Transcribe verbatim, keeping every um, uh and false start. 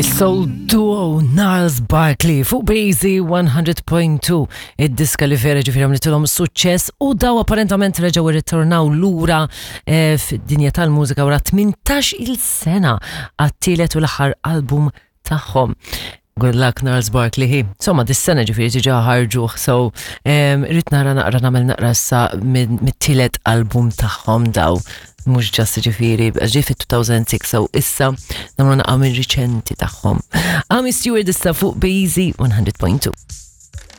Is-Soul Duo Gnarls Barkley fuq Breezy one hundred point two, id-diska li vera ġifieri għamlitilhom suċċess u daw apparentament reġgħu irritornaw lura eh, fid-dinja tal-mużika wara tmintax il sena għat-tielet u l-aħħar album tagħhom. Good luck, Gnarls Barkley hi. Insomma, dis-sena ġifieri diġà ħarġu, so um, rrid nara naqra nagħmel naqra issa mit-tielet album tagħhom daw. Mhux just ġifieri, ġie fit-two thousand six, so issa nagħmlu naqra minn riċenti tagħhom. Amii Stewart issa fuq Breezy one hundred point two.